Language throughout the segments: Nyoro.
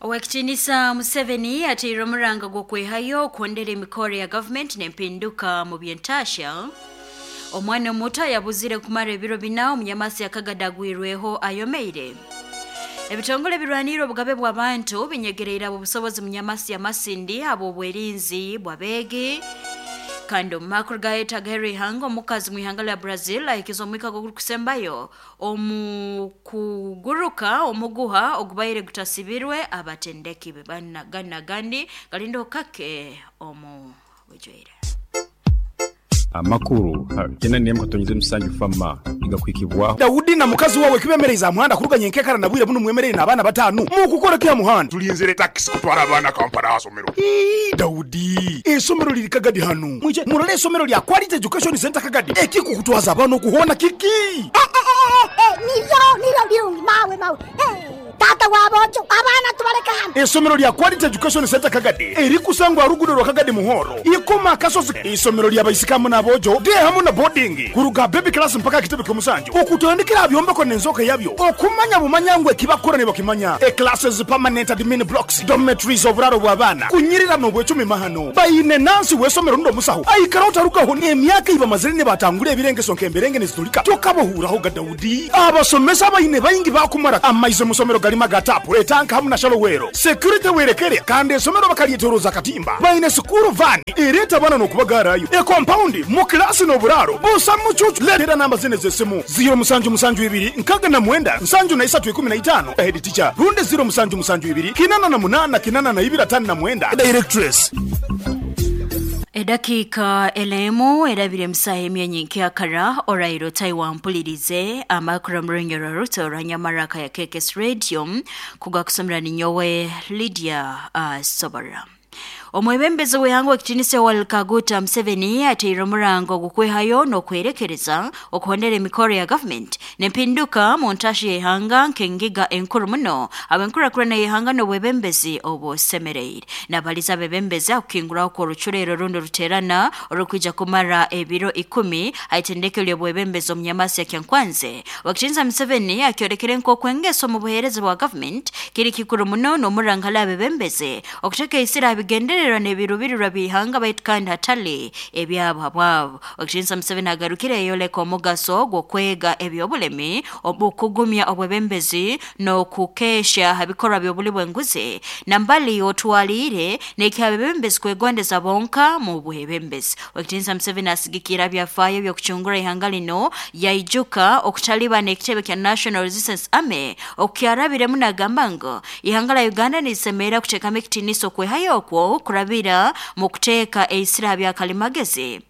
Owekitinisa Museveni ateire omuranga gw'okwehayo okwondera emikoro ya gavumenti n'empinduka mu byentasha. Omwana omuto yabuzire kumara ebiro 4 omunyamasi yakagadagwirweho ayomeire. Ebitongole birwanire obugabe bw'abantu binyegereire abo busobozi munyamasi ya Masindi abo obwerinzi bw'abeegi. Kandi omu makuru gayetagaherwa ihanga, omukazi mu ihanga lya Brazil ahikiza omwika gw'okusembayo omu kuguruka omuguha ogubaire gutasibirwe abatendeki be ganagandi galinda kake omu bujwaire. Amakuru 97 fama igakwikibwaho. Daudi na mukazi wawe kibemereza muhanda kuruganya enkekara na bwire buno mwemerere n'abaana 5 mukukora kya muhanda. Tulinzire taxi kutwara abaana Kampala asomero. Daudi, esomero liri Kagadi hanu. Mwije murole esomero lya Quality Education Center Kagadi. Ekikukutwaza abaana okuhona kiki? Nilyo birungi mawe mawe. Tata wabojo abaana tubaleka hano. Esomero lya Quality Education Center Kagadi erikusangwa rugudo rwa Kagadi Muhoro. Ikoma akasozi. Isomero lya baisikamu n'abojo de hamu na boarding kuruga baby class mpaka kitebe ky'omusanju. Okutandikira byombeko n'enzoka yabyo. Okumanya bumanyangwe ekibakora ne bakimanya. E classes permanent admin blocks, dormitories oburaro bw'abaana. Kunyirira n'obwecumi mahano. Bayine nansi w'esomero ndo musaho. Aikara otarukaho emyaka iba mazire ne batangula ebirengeso nk'emberenge nezitulika. Tokabohuraho ga Daudi. Abasomesa bayine bayingi bakumara amaize musomero galima gatapu etanka hamu na shalowero. Security werekere kandi esomero bakalietoroza katimba. Bayine sukuru van ereta bana n'okubagarayo. E compound mu klasi n'oburaro. Busa mucucu letera namba zine z'essimu 0 7 7 2 69 73 15 head teacher runde 0 7 7 2 88 82 59 directress. Edakika elemu erabire msaha emyenyi nkyakara orairo Taiwan mpulirize amakuru murengero ruto ranyamaraka ya KKS Radio kugakusomera ninyowe Lydia Sobara. Omwebembezi w'ihanga ekitinisa Yoweri Kaguta Museveni ateire omurango gw'okwehayo n'okwerekereza okuhondera emikoro ya gavumenti n'empinduka mu ntashi y'ihanga nk'engiga enkuru muno ab'enkurakurana y'ihanga n'obwebembezi obusemereire. Nabaliza abebembezi akukinguraho kw'orucurero rundi ruterana orukwija kumara ebiro 10 aitendeke ly'obwebembezi omunyamasi ya Kyankwanze. Wakitinisa Museveni akyorekere nk'okwengeso mu buheereza bwa gavumenti kiri kikuru muno n'omuranga hali abebembezi okuteeka isira abigendererwa n'ebirubirirwa by'ihanga baitu kandi hatali ebyabo habwabo. Wakitinisa Museveni agarukire eyoleka omugaso gw'okwega eby'obulemi okugumya obwebembezi n'okukesha habikorwa by'obuli bw'enguzi nambali otwaliire n'ekyabebembezi kwegondeza bonka mu bwebembezi. Wakitinisa Museveni asigikira byafaayo by'okucungura ihanga lino yaijuka okutaliba n'ekitebe kya National Resistance Army okukyarabiremu nagamba ngu ihanga la Uganda nisemera kuteekamu ekitiniso okwehayo okwo kurabira mu kuteeka eisira bya kalimagezi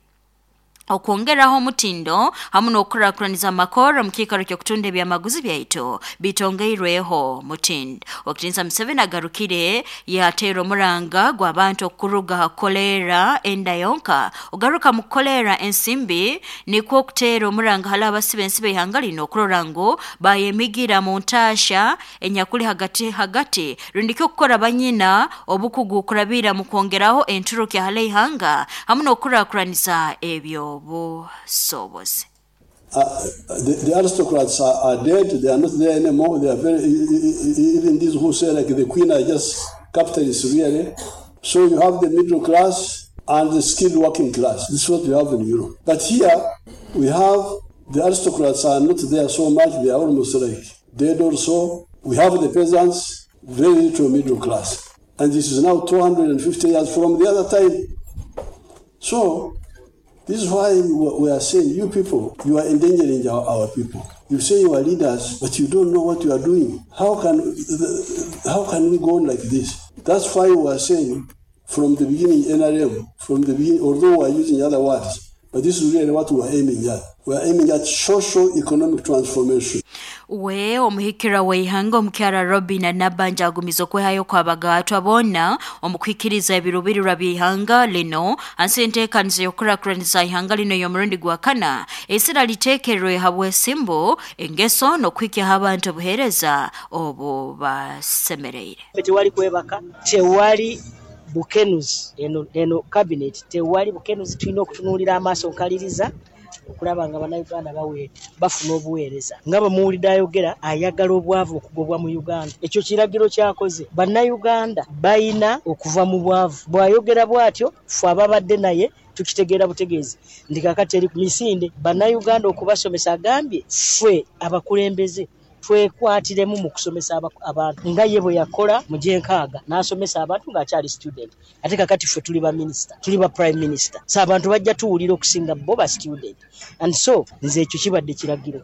okwongeraho omutindo hamu n'okukurakuraniza amakoro mu kiikaro ky'okutunda ebyamaguzi byaitu bitongeirweho mutindo. Wakitinisa Museveni agarukire yateera omuranga gw'abantu okuruga ha kukolera enda yonka ogaruka mu kukolera ensimbi nikwo okuteera omuranga hali abasiba ensibe ihanga lino okurora ngu bayemigira mu ntaasha enyakuli hagati hagati rundi okukora banyina obukugu kurabira mu kwongeraho enturuka hali ihanga hamu n'okukurakuraniza ebyo busobozi. The aristocrats are dead. They are not there anymore. They are very, even these who say like the queen are just capitalists really. So you have the middle class and the skilled working class. This is what we have in Europe. But here we have the aristocrats are not there so much. They are almost like dead or so. We have the peasants, very little middle class. And this is now 250 years from the other time. So this is why we are saying, you people, you are endangering our people. You say you are leaders, but you don't know what you are doing. How can we go on like this? That's why we are saying from the beginning, NRM, from the beginning, although we are using other words, but this is really what we are aiming at. We are aiming at social economic transformation. We omuhikira w'ihanga omukyara Robin Nabanja agumiza okwehayo kw'abagatwa boona omukwikiriza ebirubirirwa by'ihanga lino ansi enteekanizo y'okukurakuraniza ihanga lino y'omurundi gwa kana esira liteekerwe habw'esimbu engeso n'okuhikyaho abantu obuheereza obu basemereire. Tewali kwebaka, tewali bukenuzi eno cabinet tewali bukenuzi, tulina okutunuulira amaaso nkaliriza. Okulaba nga Bannayuganda bafuna obuweereza. Nga bwe muwulidde ayogera, ayagala obwavu okugobwa mu Uganda. Ekyo kiragiro ky'akoze. Bannayuganda balina okuva mu bwavu. Bw'ayogera bw'atyo, ffe ababadde naye tukitegeera butegeezi nti kaakati eri ku misinde Bannayuganda okubasomesa. Agambye ffe abakulembeze twekwatiremu mu kusomesa abantu nga ye bwe yakola mu gy'enkaaga n'asomesa abantu ng'akyali student. Ate kakati ffe tuli ba minisita, tuli ba prime minister, so abantu bajja tuwulira okusinga bo ba student. And so nze ekyo kibadde kiragiro,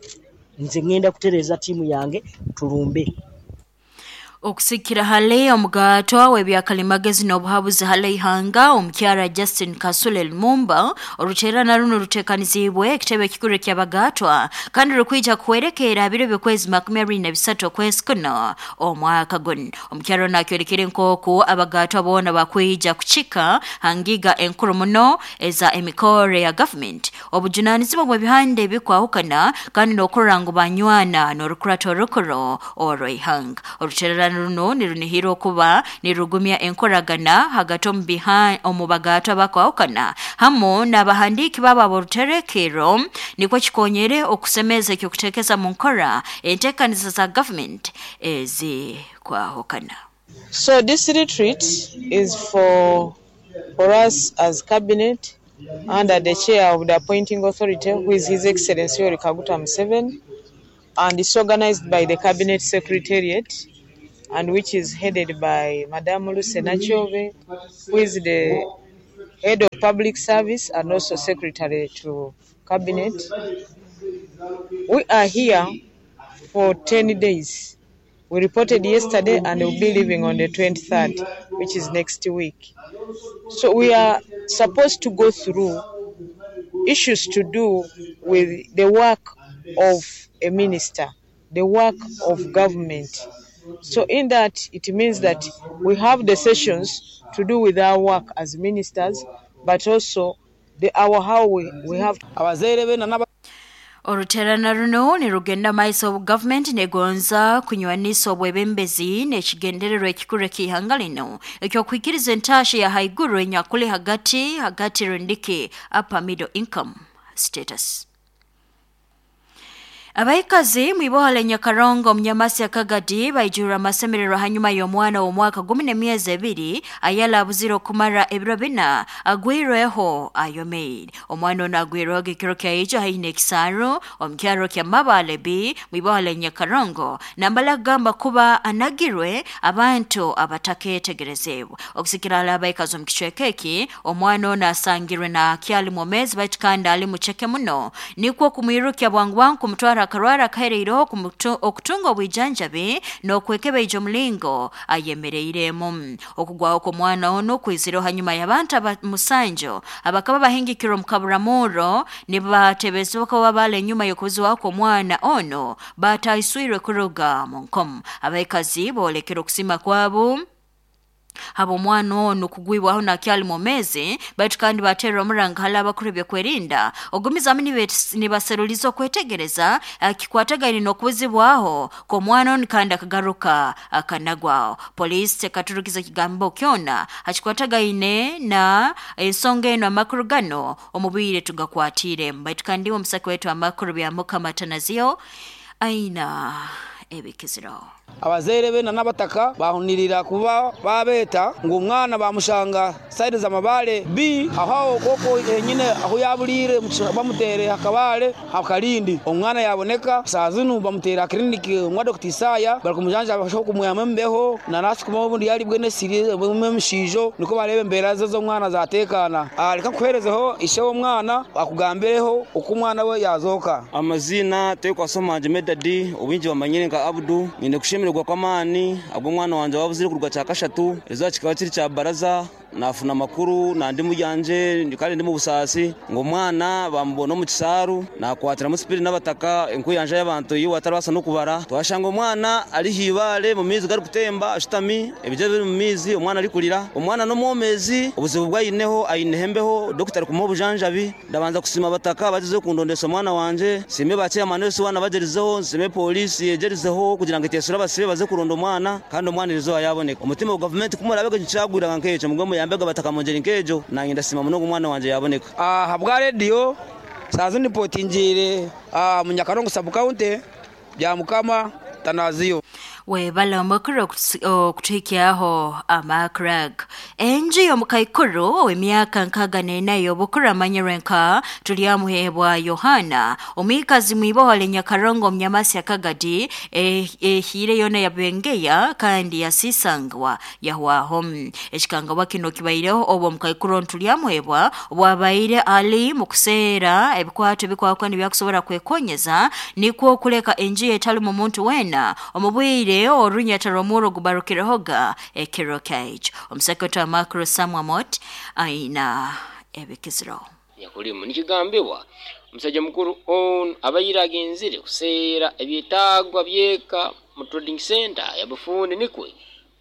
nze ŋŋenda kutereeza ttiimu yange tulumbe. Okusikira hale omugatwa w'ebyakalimagezi n'obuhabuzi hale ihanga omukyara Justin Kasule Lumumba, oruterana runo rutekanizibwe ekitebe ekikuru ky'abagatwa kandi rukwija kuhwerekera biro by'okwezi 23 okwezi kuno omwaka guno. Omukyara ono akyolekere nk'oku abagatwa boona bakwija kukika hangiga enkuru muno eza emikore ya gavumenti, obujunanizibwa bw'ebihanda ebikwahukana kandi n'okurora ngu banywana n'orukurata orukuru orw'ihanga. Orutererano runo nirunihira okuba nirugumya enkoragana hagati omu bagatwa bakwahukana hamu n'abahandiiki babo ab'oruterekero, nikwo kikonyere okusemeza ekyokuteekeza mu nkora enteekaniza za gavumenti ezikwahukana. So this retreat is for us as cabinet under the chair of the appointing authority, who is His Excellency Yoweri Kaguta Museveni, and it's organized by the Cabinet Secretariat, and which is headed by Madame Lucy Nakyobe, who is the head of public service and also secretary to cabinet. We are here for 10 days. We reported yesterday and we'll be leaving on the 23rd, which is next week. So we are supposed to go through issues to do with the work of a minister, the work of government. So in that, it means that we have the sessions to do with our work as ministers, but also our how we have. Oruterana runo nirugenda maiso obu gavumenti negonza kunywanisa obwebembezi n'ekigendererwa ekikuru ek'ihanga lino ekyokwikiriza entasha ya haiguru enyakuli hagati hagati rundiki upper middle income status. Abaikazi mwibohale Nyakarongo omunyamasi Akagadi baijurra amasemererwa hanyuma y'omwana w'omwaka 12 ayala abuzire okumara ebiro bina agwirweho ayomeire. Omwana ono agwirweho ekiro kyaijo haihi n'ekisaaru omu kyaro kya Mabale B mwibohale Nyakarongo, nambala kugamba kuba anagirwe abantu abatakeetegerezebwa. Okusikira hali abaikazi omu kicweka eki, omwana ono asangirwe na akyali mwomezi baitu kandi ali muceke muno, nikwo kumwirukya bwangu bwangu kumutwara akarwara akahereireho okutunga obwijanjabi n'okwekebeija omulingo ayemereiremu. Okugwaho kw'omwana ono kwizireho hanyuma y'abantu musanju abakaba bahingikirwe omu kaburamuro nibatebezebwa kuba baala enyuma y'okubuzibwaho kw'omwana ono bataiswirwe kuruga mu nkomo. Abaikazi boolekera okusima kwabo haba omwana ono kugwibwaho nakyali mwomezi baitu kandi baterwa omuranga hali abakuru ebyokwerinda ogumizamu nibaseruliza okwetegereza kikwatagaine n'okubuzibwaho kw'omwana ono kandi akagaruka akanagwaho. Poliisi tekaturukiza ekigambo kyona hakikwatagaine na ensonga eno. Amakuru gano omu bwire tugakwatiire, baitu kandi omusaki wetu amakuru bya Mukama Tanazio aina ebikiziro. Abazaire bena n'abataka bahunirira kuba babeta ngu omwana bamushanga saidi z'amabale b aho koko enyine aho yabulire bamutere akabale akalindi omwana yaboneka saa zinu bamutera kliniki mwa Dr. Isaya bari kumujanja basho kumuyama mbeho na nasi kuma obundi yali bwene siri bumwe mushijo niko barebe mbera ze z'omwana zatekana. Reka kuherezeho ishe w'omwana akugambireho uko umwana we yazoka. Amazina tekwasoma Medadi obwingi bamanyire nka Abdu, nyine kushemererwa kw'amaani ag'omwana wanje wabuzire kuruga kya kashatu ezo kikaba kiri kya baraza nafuna makuru nandi muyanje kandi ndi mu busaasi ngo omwana bamubona omu kisaaru nakwatiramu sipiri n'abataka enkuyanja y'abantu iyo watarabasa n'okubara twashanga omwana ari hibaale mu mizi gari kutemba ashutami ebijja biri mu mizi omwana ari kurira omwana n'omwomezi obuzibu bwayineho ayinehembeho dokita ari kumuha obujanjabi. Ndabanza kusima abataka bagize kundondesa omwana wanje sime bachairman wese wana bagerizeho nsime polisi yegerizeho kugira ngo etesura abasibe baze kuronda omwana kandi omwana erizo yaboneka. Omutima wa gavumenti kumurabega nkyagwiraga nk'ekyo mugwe muyambega bataka mungeri nk'ejo nange ndasima muno omwana wanje yaboneka. Habwa radio Sazi nipotingiire mu Nyakarongo sub county bya Mukama tanaziyo. Webala omukuru okutuhikyaho amakrag. Enju y'omukaikuru ow'emyaka 64 y'obukuru amanyirwe nka Turyamuhebwa Yohana omwikazi mwibohole Nyakarongo omunyamasi akagadi ehire yona yabengeya kandi yasisangwa yahwaho. Ekikangabwa kino kibaireho obwo omukaikuru Turyamuhebwa bwabaire ali mu kuseera ebikwato ebikwakwa nibyakusobora kwekonyeza nikwo okuleka enju ye etalimu muntu wena omubwire orunyata rw'omuro gubarukirehoga ekiro kyaijo. Omusekretary Makuru Samwamot aina ebikiziro. Nyakulimu nikigambibwa omusajja mukuru ono abaire agenzire kuseera ebyetaagwa byeka mu trading center ya Bufundi nikwe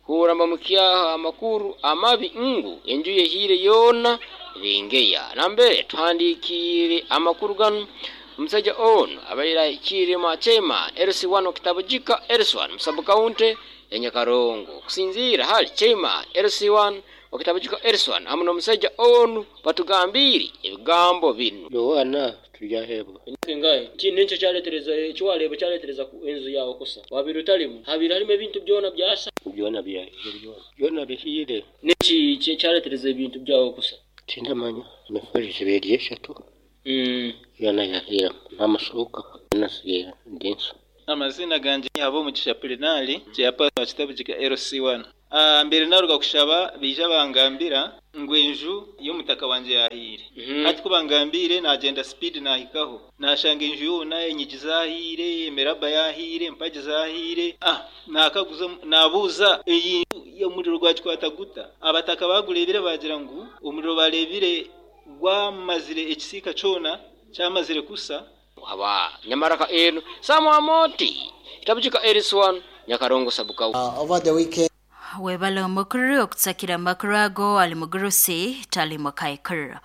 kuramba mukyaha amakuru amabi ngu enju yehiire yoona bengeya. Nambere tuhandikiire amakuru ganu omusajja ono abaire ahikire mwa chairman LC1 Okitabujika LC1 mu sub county ya Nyakarongo. Kusinziira hali chairman LC1 Okitabujika LC1 hamu n'omusajja onu batugambire ebigambo binu. Yohana turyahebwa. Ngaye nincho kyaletereza ekiwalebo kyaletereza enzu yawe kusa wabiri utalimu habiri harimo ebintu byona byasa byona byahire byona bihire. Niki kyaletereza ebintu byawe kusa? Tindamanya emifariso ebiri eshatu. Yona yahira n'amashuka nasigira ndinso. Amazina ganje abo Mugisha Plenali chairperson wa Kitabujika LC1. Mbere naruga kushaba bija bangambira ngu enju y'omutaka wanje yahire. Hati kubangambire nagenda speed nahikaho nashanga enju yona enyigi zahire, emiraba yahire, empagi zahire. Nakaguza nabuuza iyi omuriro gwakikwata guta. Abataka bagurebire bagira ngu omuriro barebire gwamazire ekisiika kyona kyamazire kusa. Haba nyamaraka eno Samwamoti Kitabujika LC1 Nyakarongo sabuka. Over the weekend Webala omukuru okutsakira amakuru ago ali mugurusi tali mukaikuru.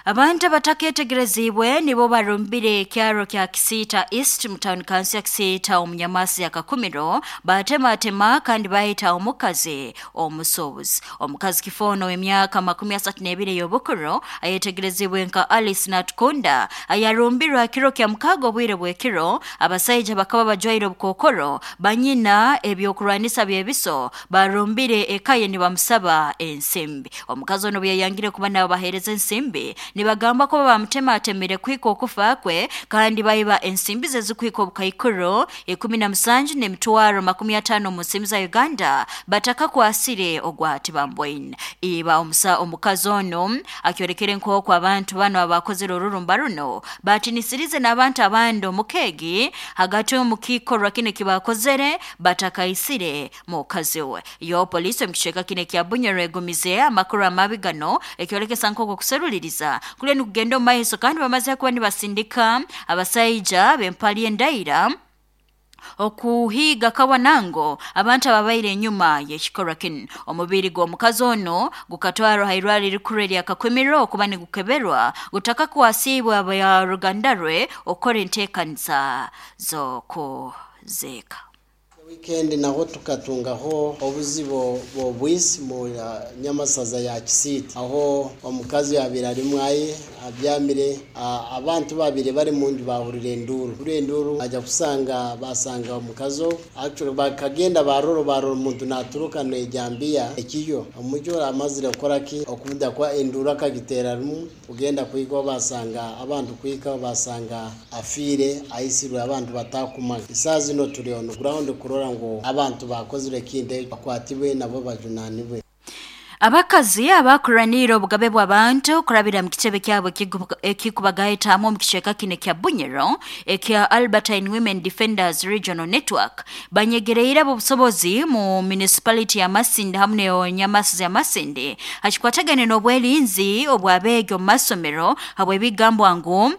Abantu abataketegerezibwe nibo barumbire ekyaro kya Kisita East mu town council ya Kisita omunyamasi ya Kakumiro batematema kandi bahita omukazi omusobozi. Omukazi kifono w'emyaka 32 y'obukuru ayetegerezibwe nka Alice Natukunda ayarumbirwa kiro kya mukago obwire bw'ekiro. Abasaija bakaba bajwaire obukokoro banyina ebyokurwanisa byebiso barumbire ekaye nibamusaba ensimbi. Omukazi ono byayangire kuba nabo bahereza ensimbi nibagamba ko bamutematemire kwika okufa kwe kandi bayiba ensimbi ze zikwika obukaikuru 17 n'emitwaro 50 mu nsimbi za Uganda bataka kwasire ogwati bambwaine. Iba omukazi ono akyorekere nk'oku abantu bano abakozere orurumba runo batinisirize n'abantu abandi omukegi hagati omukikorwa kine kibakozere batakaisire mukazi we. Yo polisi omukicweka kine kya Bunyoro egumize amakuru amabi gano ekyolekesa nk'oku kuseruliriza kule nikugenda omu maiso kandi bamaze kuba nibasindika abasaija b'empali endaira okuhiga kawanango abantu ababaire enyuma y'ekikorwa kinu. Omubiri gw'omukazi ono gukatwarwa hairwari rikuru erya Kakumiro okuba nigukeberwa gutaka kwasibwa abaruganda rwe okukora enteekanisa z'okuziika. Weekend naho tukatungaho obuzibu bw'obwisi mu nyamasaza ya Kisita aho omukazi yabira ari mwaye abyamire abantu babiri bari mu nju bahurira enduru kuri enduru ajya kusanga basanga omukazi actually bakagenda baroro omuntu naturuka nejambiya ekiyo omujo amazire gukora ki okunda kwa enduru akagitera rumu ugenda kwiko basanga abantu kwika basanga afire aisirwe abantu batakuma isazi no turi on ground kurora ngo abantu bakozire kinde bakwatibwe nabo bajunanibwe. Abakazi abakuranira obugabe bw'abantu kurabira mu kitebe kyabo ekikubagaitamu mu kicweka kine kya Bunyoro ekya Albertine Women Defenders Regional Network banyegereire obusobozi mu municipality ya Masindi hamwe ne Nyamasi ya Masindi hakikwatagane n'obwelinzi obwabege mu masomero habwe bigambwa ngu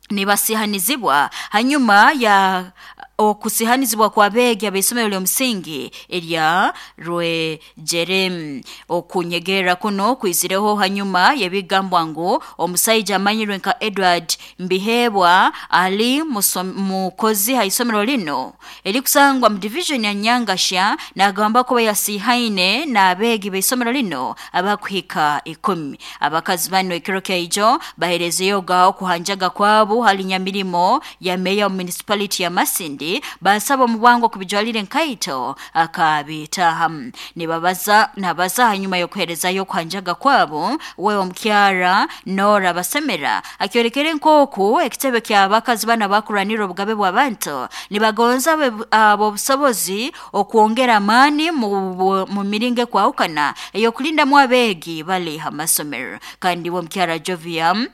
nibasihanizibwa hanyuma ya Okusihanizibwa kw'abeegi ab'isomero ly'omusingi erya Rwejere. Okunyegerera kuno kwizireho hanyuma y'ebigambwa ngu omusaija amanyirwe nka Edward Mbihebwa ali mukozi ha isomero lino erikusangwa mu division ya Nyangasha, nagamba kuba yasihaine n'abeegi b'isomero lino abakuhika 10. Abakazi bano ekiro kyaijo baherezeyo gaho kuhanjaga kwabo hali nyamirimo ya meya wa municipality ya Masindi, basaba omubwango kubijwalire nkaito akabitaha. Nibabaza nabaza hanyuma y'okuherezayo kuhanjaga kwabo, we omukyara Nora Basemera akyorekere nkoku ekitebe ky'abakazi bana bakuranira obugabe bw'abantu nibagonza abo obusobozi okwongera amaani mu miringo ekwahukana ey'okulindamu abeegi bali ha masomero. Kandi we omukyara Joviam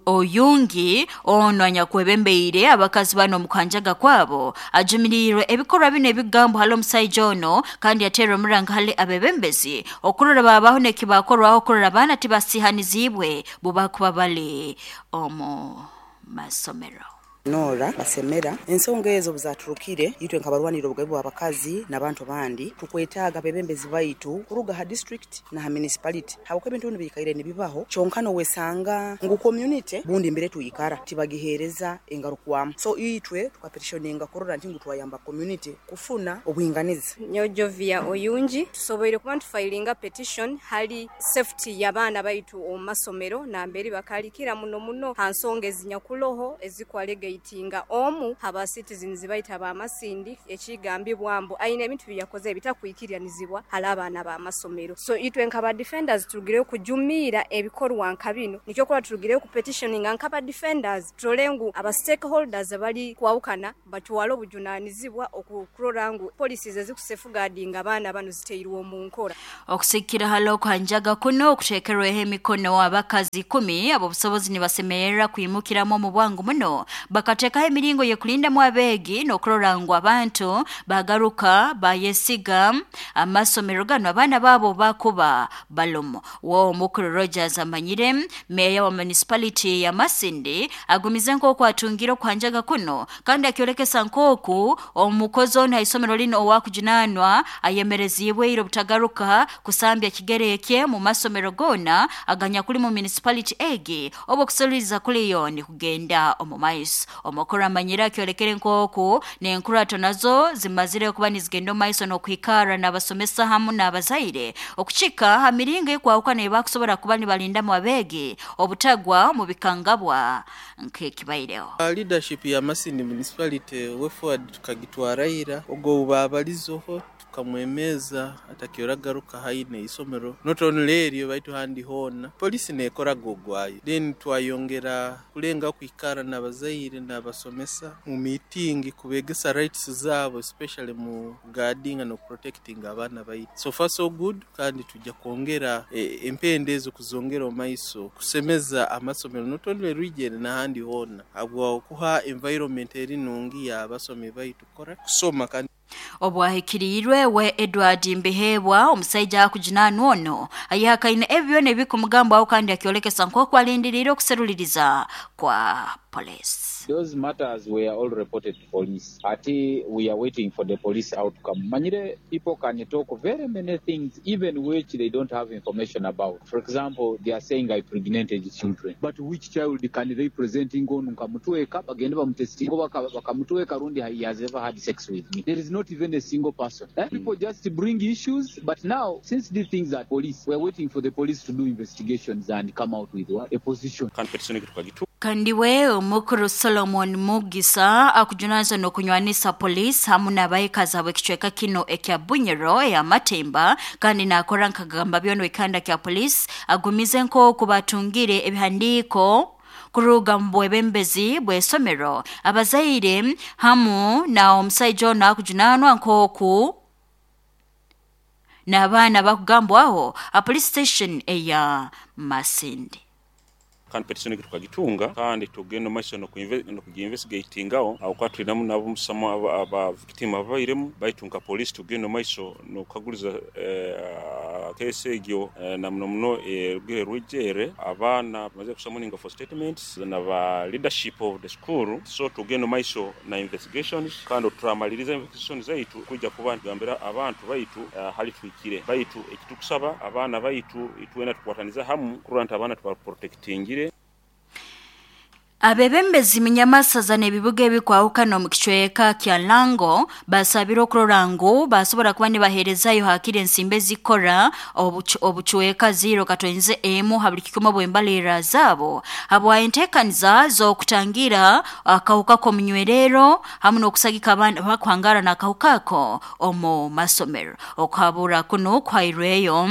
Oyungi ono anyakwebembeire abakazi bano omukuhanjaga kwabo ajumiriirwe ebikorwa bino ebigambo hali omusaija ono, kandi yateera omuranga hali abebembezi okurora babaho nekibakorwaho okurora abaana tibasihanizibwe bubakuba bali omu masomero. Nora Basemera, ensonga ezo obuzaturukire itwe nkabarwanira obugabe bw'abakazi n'abantu bandi tukwetaaga abebembezi baitu kuruga ha district na ha municipality, habwokuba ebintu binu biikaire nibibaho kyonka nowesanga ngu community bundi mbere twikara tibagiheereza engarukwamu, so itwe tukapetitioninga kurora nti ngu twayamba community kufuna obwinganiza. Nyowe Jovia Oyungi, tusoboire kuba nitufayilinga petition hali safety y'abaana baitu omu masomero namberi bakalikira muno muno ha nsonga ezinyakuloho ezikwalegeitinga omu haba citizens baitu abamasindi ekigambibwa mbu aine ebintu byeyakoze ebitakwikiriranizibwa hali abaana b'amasomero. So itwe nkaba defenders turugireyo kujumiira ebikorwa nka bino, nikyo kuba turugireyo kupetitioninga nkaba defenders turole ngu aba stakeholders abali kwawukana batwale obujunanizibwa okukurora ngu policies ezikusafeguardinga abaana bano ziteirwe omu nkora. Okusikira hali okuhanjaga kuno okuteekerweho emikono abakazi 10 ab'obusobozi nibasemerera kwimukiramu omu bwangu muno bakateekaho emiringo y'okulindamu abeegi n'okurora ngu abantu bagaruka bayesiga amasomero gano abaana baabo bakuba balomo. Wo omukuru Rogers amanyire meya wa municipality ya Masindi agumize nk'oku atungire okuhanjaga kuno, kandi akyolekesa nk'oku omukozi ono ha isomero lino owakujunanwa ayemereziibwe ira obutagaruka kusambya kigere ekye mu masomero goona aganyakuli mu municipality egi oba okusoliriza kuliyo nikugenda omu maiso. Omukuru amanyire akyolekere nk'oku n'enkurato nazo zimazire kuba nizigenda omu maiso n'okuhikara n'abasomesa hamu n'abazaire okukika ha miringo ekwahukana ebakusobora kuba nibalindamu abeegi obutagwa mu bikangabwa nk'ekibaireho. Leadership ya Masindi municipality way forward tukagitwara ira ogwo babalizoho tukamwemeza atakioragaruka haine isomero not only eryo baitu handi hoona polisi nekoraga ogwayo, then twayongera kulenga kwikara n'abazaire n'abasomesa mu meeting kubegesa rights zaabo, especially mu guarding and protecting abaana baitu. So far so good, kandi tujja kwongera empenda ezo kuzongera omu maiso kusemeza amasomero not only region n'ahandi hoona, habwa kuha environment eri nungi y'abasomi baitu kukora kusoma kandi. Obwahikiriirwe we Edward Mbihebwa omusaija akujunanwa ono ayahakaine ebyo byona ebikumugambwaho kandi akyolekesa nk'oku alindiriire okuseruliriza kwa police. Those matters were all reported to police. Ati we are waiting for the police outcome. Manyire, people can talk very many things even which they don't have information about. For example, they are saying I pregnanted children. But which child can they present ngonu nkamutweka bagende bamutestinga bakamutweka rundi he has ever had sex with me. There is not even a single person. People just bring issues, but now since these things are police, we are waiting for the police to do investigations and come out with what? A position. Kandi we omukuru Solomon Mugisa akujunaanizibwa n'okunywanisa police hamu n'abaikazi ab'ekicweka kino ekya Bunyoro eya Matemba, kandi nakora nkagamba byona ekanda kya police agumize nk'oku batungire ebihandiiko kuruga mu bwebembezi bw'esomero abazaire hamu na omusaija ono akujunanwa nk'oku n'abaana bakugambwaho a police station eya Masindi. Kandi petition tukagitunga kandi tugenda maiso nokugiinvestigatingaho aho kwa tulinamu nabo musamo aba victim ababairemu baitu nka police tugenda maiso nokukaguliza Case egyo na muno muno erugire Rwijere, abaana bamaze kusummoninga for statements na ba leadership of the school, so tugenda omu maiso na investigations kandi turamaliriza investigations zaitu kwija kuba nitugambira abantu baitu hali tuhikire. Baitu ekitukusaba abaana baitu itwena tukwataniza hamu kurora nti abaana tubaprotectingire. Abebembezi minyamasaza n'ebibuga ebikwahukana omu kicweka kya Lango basabire okurora ngu basobora kuba nibaheerezayo hakiri ensimbi ezikora obucweka 0.1 ha buli kikumi obw'embalirira zaabo habwa enteekaniza z'okutangira akahuka k'omunywerero hamu n'okusagika abaana bakuhangara n'akahuka ako omu masomero. Okuhabura kunu kuhairweyo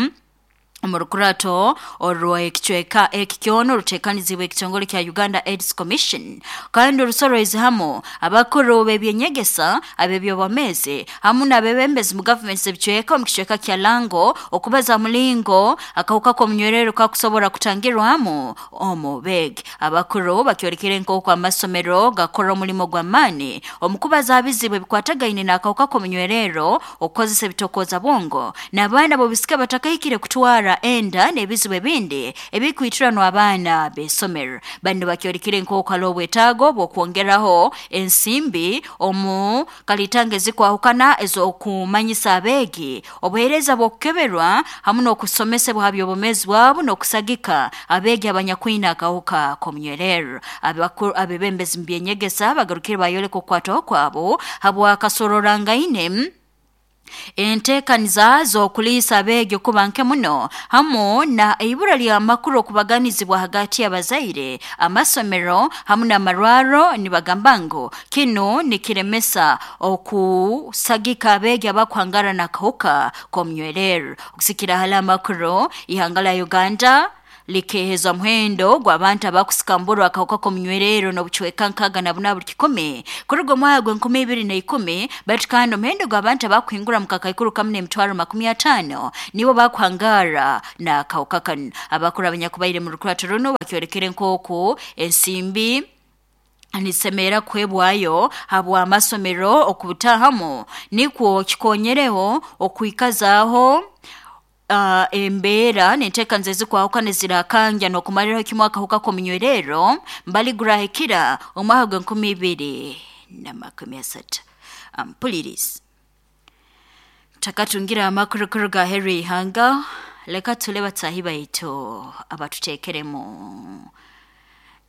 omu rukurato orw'ekicweka eki kyona oruteekanizibwe ekitongole kya Uganda AIDS Commission kandi orusoroize hamu abakuru b'ebyenyegesa, ab'ebyobwomeezi hamu n'abebembezi mu gavumenti z'ebicweka omu kicweka kya Lango okubaza mulingo akahuka k'omunywerero kakusobora kutangirwamu omu beegi. Abakuru bakyolekere nk'oku amasomero gakora omulimo gw'amaani omu kubaza abizibu ebikwatagaine n'akahuka k'omunywerero, okukozesa ebitokooza bwongo n'abaana b'obusika batakahikire kutwara enda n'ebizibu ebindi ebikwitiranwa abaana b'esomero. Bano bakyolekere nk'oku hariho obwetaago bw'okwongeraho ensimbi omu kalitanga ezikwahukana ez'okumanyisa abeegi, obuheereza bw'okukeberwa hamu n'okusomesebwa ha by'obwomeezi bwabo n'okusagika abeegi abanyakwine akahuka k'omunywerero. Abebembezi mu byenyegesa bagarukire bayoleka okukwatwaho kwabo habw'akasororangaine enteekaniza z'okuliisa abeegi okuba nke muno hamu na ibura ly'amakuru okubaganizibwa hagati y'abazaire, amasomero hamu n'amarwaro. Nibagamba ngu kinu nikiremesa okusagika abeegi abakuhangara n'akahuka k'omunywerero. Okusikira hali amakuru, ihanga lya Uganda likeheza omuhendo gw'abantu abakusikamburwa akahuka k'omunywerero n'obucweka 68 buli kikumi kuruga omwaka gw'enkumi ibiri na ikumi, baitu kandi omuhendo gw'abantu abakuhingura mu kakaikuru kamu n'emitwaro 50 nibo bakuhangara n'akahuka kanu. Abakuru abanyakubaire mu rukurato runu bakyolekere nk'oku ensimbi nisemera kuhebwayo habw'amasomero okubutahamu nikwo kikonyereho okwikazaaho embeera n'enteekaniza ezikwahukana ezirakangya n'okumaliraho kimu akahuka k'omunywerero mbali gurahikira omwaka gw'enkumi ibiri na makumi asatu. Ampulirizi takatungira amakuru kuruga aheeru y'ihanga, leka tule bataahi baitu abatuteekeremu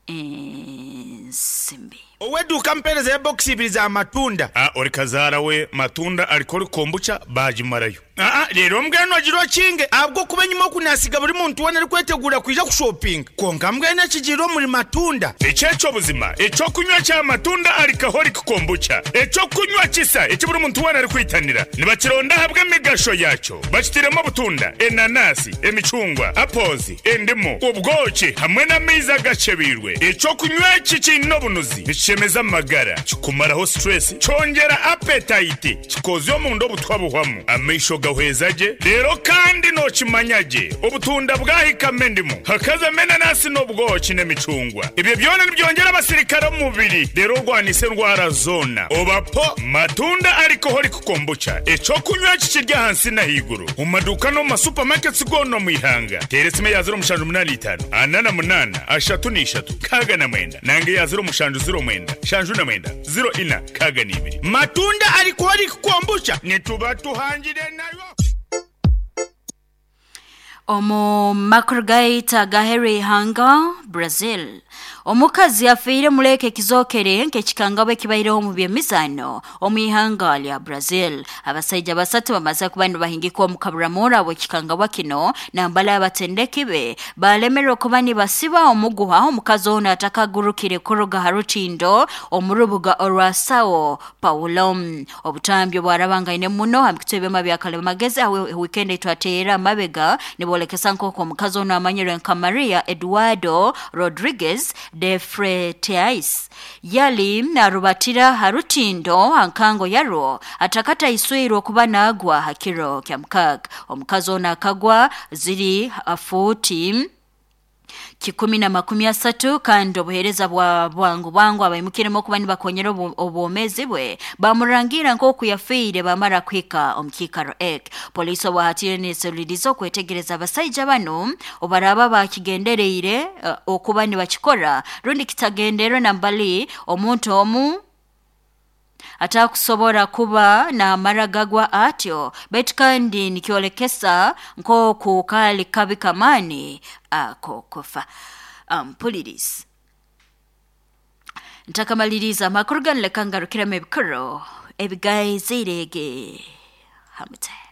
ensimbi. Ow'eduuka ampeereza ebokisi ibiri za matunda. A Ori kazaara we matunda arikora kombucha baagimarayo. Aa Reero mbwenu ogira okinge ahabw'okuba enyima oku naasiga buri muntu weena arikweteguura kwija kushopinga. Kwonka mbwenu ekigiire omuri matunda. Eki eky'obuzima, eky'okunywa kya matunda alcoholic kombucha, eky'okunywa kisa eki buri muntu weena arikwitanira. Nibakironda ahabw'emigasho yaakyo. Bakitairemu obutunda, enanasi, emicungwa, apples, endimu, obwoki hamwe n'amaizi agakyebeirwe. Eky'okunywa eki kiine obunuzi, nikishemeza amagara, kikumaraho stress, kyongyera appetite, kikoozya omunda obutwa buhwamu, amaisho gahweza gye, reero kandi nookimanya gye obutunda bwahikamu endimu, hakazamu enanasi n'obwoki n'emicungwa. Ebyo byona nibyongyera abasirikare omu mubiri reero orwanise endwara zoona. Oba po matunda alcoholic kombucha, eky'okunywa eki kiri ahansi n'ahaiguru omu maduuka n'omu ma supermarkets goona omu ihanga. Teera esimu eya 0785 48 33 69 nanga eya 0709 79 04 62. Matunda alcoholic kombucha nituba tuhangire nayo. Omu makuru gaitu agaheru ihanga Brazil, omukazi afiire muleka ekizokere nk'ekikangabwa ekibaireho omu by'emizaano omu ihanga lya Brazil. Abasaija basatu bamaze kuba nibahingikwa omu kaburamura bw'ekikangabwa kino, nambala abatendeki be balemerwe kuba nibasiba omuguha omukazi ono atakagurukire kuruga ha rutindo omu rubuga orwa Sao Paulo. Obutambi obwarabangaine muno ha mikutu ebyoma bya kalimagezi aho weekend etwateera amabega nibolekesa nk'oku omukazi ono amanyirwe nka Maria Eduardo Rodriguez de Freitas yali narubatira ha rutindo ha nkango yarwo atakataiswirwe okuba naagwa ha kiro kya mukaaga. Omukazi ono akagwa ziri fuuti 130 kandi obuheereza bwa bwangu bwangu abaimukiremu okuba nibakonyera obwomezi bwe bamurangira nk'oku yafiire bamara kuhika omu kiikaro eki. Poliisi obwahatire neseruliriza okwetegereza abasaija banu obaraba bakigendereire okuba nibakikora rundi kitagenderwe nambali omuntu omu atakusobora kuba n'amara gagwa atyo, baitu kandi nikyolekesa nk'oku kaali kabi kamaani ak'okufa. Mpuliriza ntakamaliriza amakuru ganu, leka ngarukiremu ebikuru ebigaizirege hamute.